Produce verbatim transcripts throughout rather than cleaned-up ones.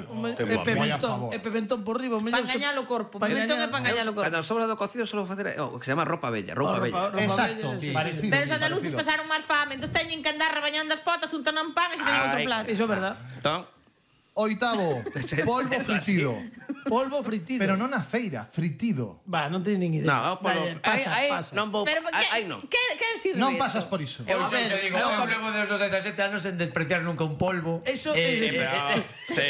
E pimentón por riba. Para engañar o corpo. Pimentón é para engañar o corpo. Cando sobra do cocido solo facer o que se chama roupa bella, roupa bella. Exacto, parecido. Pero os andaluces pasaron máis fame, entón teñen que andar rebañando as potas, untan un pan e se teñen outro plato. Iso é verdad. Entón, Oitavo, polvo fritido. Polvo fritido. Pero non na feira, fritido. Va, non teño nin idea. no, polvo. Aí non vou, aí non. Que sirve? Non pasas por iso. Eu sempre digo, eu levo desde os dezasete anos en despreciar nunca un polvo. Eso Eh, é... Pero, sí.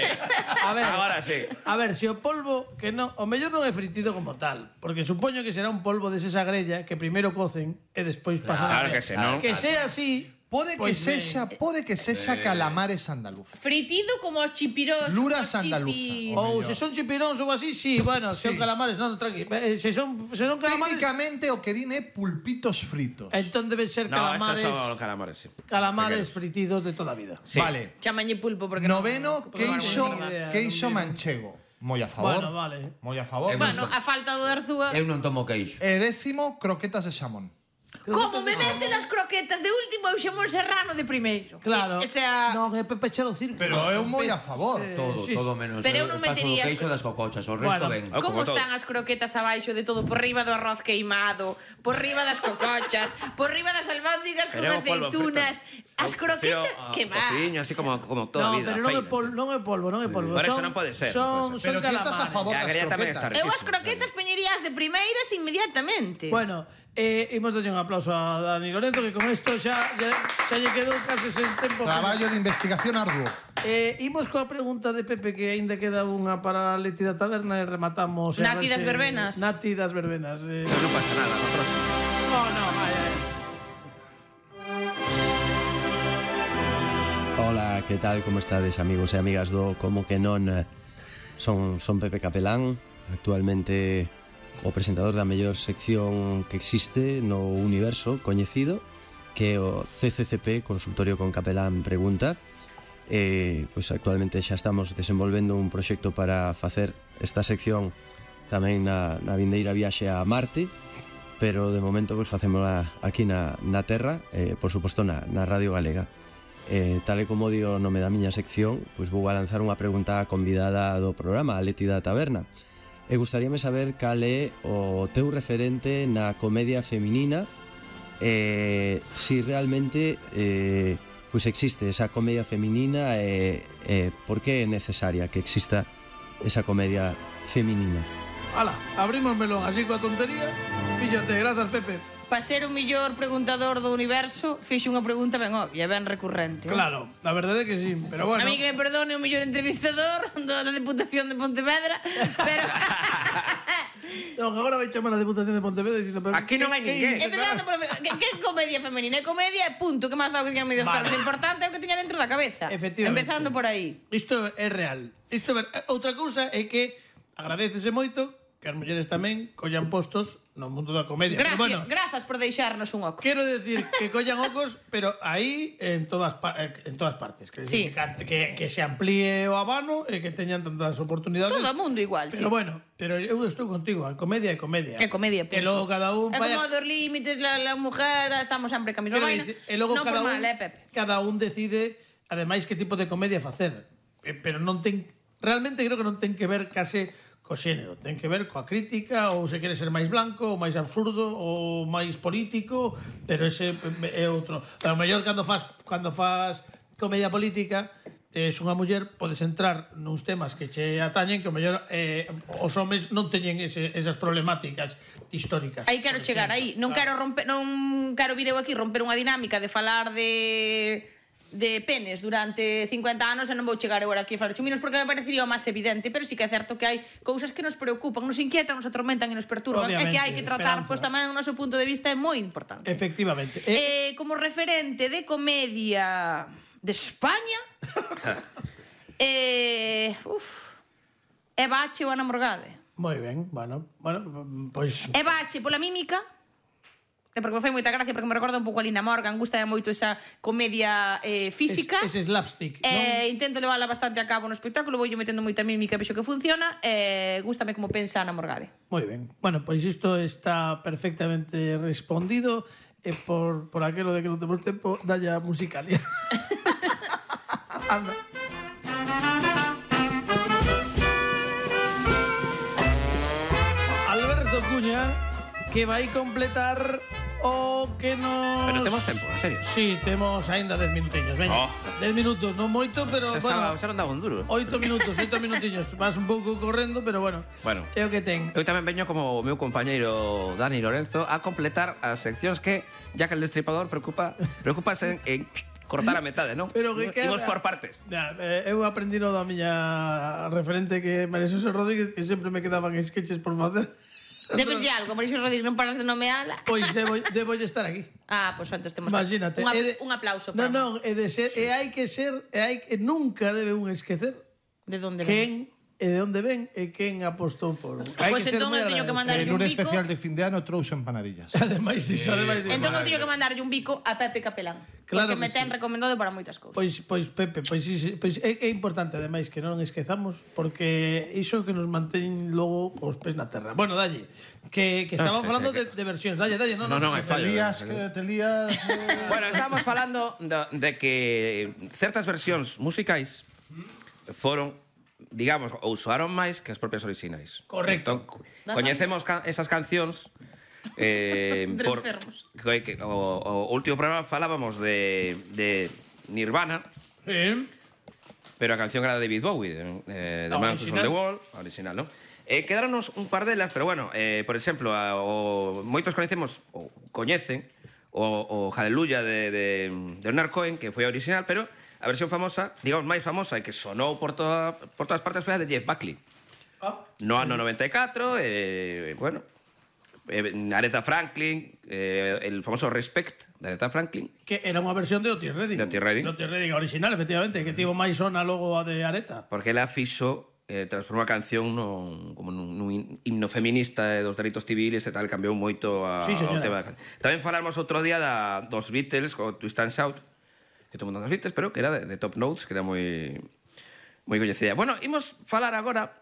A ver, Agora sí. A ver, se o polvo que non, o mellor non é fritido como tal, porque supoño que será un polvo de esa grella que primeiro cocen e despois pasan Claro a que sí, non? Que sea así. Pode que Pois sexa, pode que sexa calamares andaluz. Fritido como os chipirós. Luras como os andaluza. chipis. Ou se son chipiróns ou así, sí, bueno, se Sí. son calamares, non, tranqui. Eh, Se son, se son calamares, Técnicamente o que din é pulpitos fritos. entón deben ser No, calamares, esos son calamares, sí. calamares fritidos de toda a vida. Sí. Vale. Chamañe pulpo porque Noveno, porque non- queixo, non idea, queixo non manchego. Moi a favor. Bueno, vale. Moi a favor. Eu Bueno, a falta do Arzúa. Eu non tomo queixo. E décimo, croquetas de xamón. Como me meten as croquetas de último e o xamón serrano de primeiro. Claro. O sea, Non, é Pepe Chelo Circo. Pero eu moi a favor. Todo, sí, todo menos. Pero eu eu non paso do metería- queixo das cocochas, o resto Bueno. ben. Oh, como como todo. están as croquetas abaixo de todo? Por riba do arroz queimado, por riba das cocochas, por riba das albóndigas con Pero é o polvo aceitunas. As croquetas, que va. Cociño, así como, como toda a No, vida. pero non é feina. polvo, non é polvo, non é polvo. Por eso Son- non pode ser, Son, non pode son Pero ti estás a calamares. favor E a das grella tamén está croquetas. Eu as croquetas peñerías de primeiras inmediatamente. Bueno, eh, imos darlle un aplauso a Dani Lorenzo, que con isto xa, xa, xa lle quedou case sen tempo. Traballo de investigación arduo. Eh, imos coa pregunta de Pepe, que aínda queda unha para Leti da Taberna e rematamos. Nati R S- das verbenas. Nati das verbenas. Eh. Pero non pasa nada, no próximo. No, no, vai, vai. Ola, que tal, como estades, amigos e amigas do Como que non? Son, son Pepe Capelán, actualmente o presentador da mellor sección que existe no universo coñecido, que é o C C C P, Consultorio con Capelán Pregunta. E, pois, actualmente xa estamos desenvolvendo un proxecto para facer esta sección tamén na, na vindeira viaxe a Marte, pero de momento pois, facémola aquí na, na Terra, e, por suposto na, na Radio Galega. Eh, tal e como dio o nome da miña sección, pois vou a lanzar unha pregunta á convidada do programa, a Leti da Taberna. E gustaríame saber cal é o teu referente na comedia feminina, e si realmente eh, pois existe esa comedia feminina e, e por que é necesaria que exista esa comedia feminina. Ala, abrimos melón así coa tontería. Fíxate, grazas, Pepe. Para ser o mellor preguntador do universo, fixe unha pregunta ben obvia, ben recurrente. Claro, la verdade é que sí, pero bueno. A mí que me perdone o mellor entrevistador da Deputación de Pontevedra, pero... Non, agora vai chamar a Deputación de Pontevedra dicindo, pero Aquí non hai ninguén. Empezando por... Que, que comedia femenina? É comedia, punto. Que máis dá o que teñan medios Vale. paros? O importante é o que teña dentro da cabeza. Efectivamente. Empezando por aí. Isto é real. Isto é ver... Outra cousa é que agradecese moito que as mulleres tamén collan postos no mundo da comedia. Gracias, Pero bueno, grazas por deixarnos un oco. quero decir que collan ocos, pero aí en todas pa- en todas partes, que, Sí. que, que, que se amplíe o abano e que teñan tantas oportunidades. Todo o mundo igual, Pero sí. bueno, pero eu estou contigo, a comedia é comedia. É comedia, E punto. logo cada un É vai como a- dos límites, la, la mujer, estamos sempre ca mesma Quero vaina. dicir, e logo non cada por un, mal, eh, Pepe? cada un decide ademais que tipo de comedia facer. Eh, Pero non ten realmente creo que non ten que ver case co xénero, ten que ver coa crítica ou se quere ser máis blanco, ou máis absurdo, ou máis político, pero ese é outro. A lo mellor cando faz cando faz comedia política, es unha muller, podes entrar nuns temas que che atañen que o mellor eh, os homes non teñen ese, esas problemáticas históricas. Aí quero por chegar, exemplo. aí. Non Claro. quero romper, non quero vir eu aquí romper unha dinámica de falar de de penes durante cincuenta anos e non vou chegar eu aquí a falar chuminos porque me parecería o máis evidente, pero sí que é certo que hai cousas que nos preocupan, nos inquietan, nos atormentan e nos perturban, Obviamente, e que hai que tratar, esperanza. pois tamén o noso punto de vista é moi importante. Efectivamente. Eh, Eh, como referente de comedia de España, eh, uf, é Bache ou Ana Morgade. moi ben, bueno, bueno, pois É Bache pola mímica, e porque me fai moita gracia, porque me recorda un pouco a Lina Morgan, gusta moito esa comedia eh, física. ese slapstick, non? Eh, intento levala bastante a cabo no espectáculo, vou metendo moita mímica, vexo que funciona, e eh, gústame como pensa Ana Morgade. Moi ben. Bueno, pois isto está perfectamente respondido e por, por aquelo de que non temos tempo, dalle a musicalia. Anda. que vai completar o que nos... Pero temos tempo, en serio. Sí, temos aínda dez minutiños, veña. Oh. dez minutos, non moito, pero Xa, estaba, bueno, xa non daba un duro. oito minutos, oito minutiños. Vas un pouco correndo, pero bueno, Bueno. é o que ten. Eu tamén veño como o meu compañeiro Dani Lorenzo a completar as seccións que, ya que el destripador preocupa, preocupase en, en cortar a metade, non? Pero que Imos queda- por partes. Ya, eh, eu aprendí no da miña referente que María Xosé Rodríguez, que sempre me quedaban sketches por facer. Debes de algo, Mauricio Rodríguez, non paras de nomeala. Pois debo, debo estar aquí. Ah, pois pues, antes temos Imagínate. un, ap é de- un aplauso Non, para non, é de ser, e hai que ser, e hai que nunca debe un esquecer de onde ven. quen e de onde ven e quen apostou por un. Hai Pois que ser entón moi eu teño que agradecido. mandar En un un bico. especial de fin de ano trouxe empanadillas. Ademais diso, ademais diso. Entón eu teño que mandarlle un bico a Pepe Capelán. Claro porque me que ten sí. recomendado para moitas cousas. Pois, pois Pepe, pois, sí, sí, pois é, é importante ademais que non esquezamos porque iso que nos mantén logo cos pés na terra. Bueno, dalle, que, que estábamos sí, falando sí, de, de versións, dalle, dalle, non, No, non, hai Te fallo. lías, que te lías... eh, Bueno, estábamos falando de, de que certas versións musicais foron, digamos, ou soaron máis que as propias orixinais. Correcto. Entón, coñecemos ca esas cancións eh, Entre por enfermos. que, que, o, o último programa falábamos de, de Nirvana, Sí. pero a canción era de David Bowie, de, eh, de A Man Who Sold original. the Wall, a original, non? Eh, quedaronos un par delas, pero bueno, eh, por exemplo, a, o, moitos conhecemos, ou coñecen, o, o Hallelujah de, de, de Leonard Cohen, que foi a original, pero a versión famosa, digamos, máis famosa e que sonou por, toda, por todas partes foi a de Jeff Buckley. Ah, No ano noventa e catro, eh, bueno, eh, Aretha Franklin, eh, el famoso Respect de Aretha Franklin, que era unha versión de Otis Redding. De Otis Redding. De Otis Redding, a original, efectivamente, que tivo máis sona logo a de Areta. porque ela fixo eh, transformou a canción nun, como nun, nun himno feminista dos dereitos civiles e tal, cambiou moito a, Sí, señora. ao tema. Tamén falamos outro día da, dos Beatles, co Twist and Shout, que todo mundo dos Beatles, pero que era de, de Top Notes, que era moi moi coñecida. Bueno, imos falar agora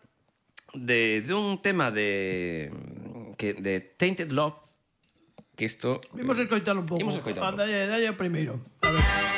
de, de un tema de que de Tainted Love, que isto Vimos escoitalo un pouco. Imos escoitalo un pouco. Dalle, dalle o primeiro. A ver.